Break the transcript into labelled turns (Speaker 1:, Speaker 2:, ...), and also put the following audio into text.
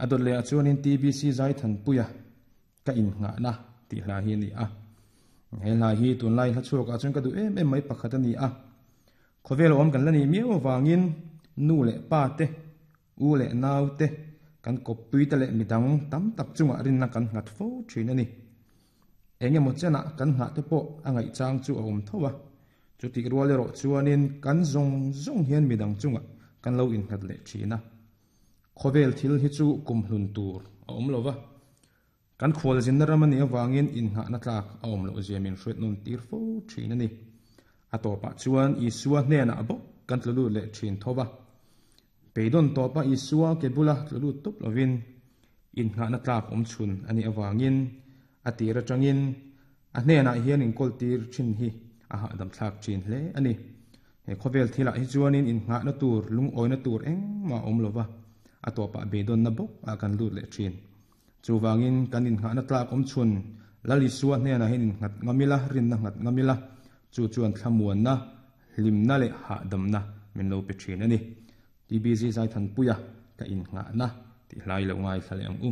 Speaker 1: A dawt leh ah chuanin TBC Zaithanpuia ka innghahna tih hla hi a ni a. He hla hi tunlai hla chhuak ah chuan ka duh em em mai pakhat a ni a. Khawvel awm kan la nih miau avangin nu leh pa te, u leh nau te, kan kawppui te leh midang tam tak chungah rinna kan nghat fo thin a ni. Eng emaw chenah kan nghah te pawh a ngaihchang chu a awm tho a. Chutih rual erawh chuanin kan zawng zawng hian midang chungah kan lo innghat leh thin a. Khawvel thil hi chu kum hlun tur a awm lo va, kan khualzinna ram a nih avangin innghahna tlak a awm loh zia min hriat nawn tir fo thin a ni. A tawpah chuan Isua hnenah bawk kan tlu lut leh thin tho va. Beidawn tawpa Isua ke bula tlu lut tawp lovin innghahna tlak awm chhun a nih avangin a tir atangin a hnenah hian inkawl tir thin hi a hahdam thlak thin hle a ni. He khawvel thilah hi chuanin innghahna tur, lungawina tur engmah a awm lo va, a tawpah beidawnna bawk ah kan lut leh thin. Chuvangin kan innghahna tlak awm chhun Lal Isua hnenah hian innghat ngam ila, rinna nghat ngam ila, chu chuan thlamuanna, hlimna leh hahdamna min lo pe thin a ni. TBZ Zaithanpuia ka innghahna tih hlai lo ngaithla leh ang u.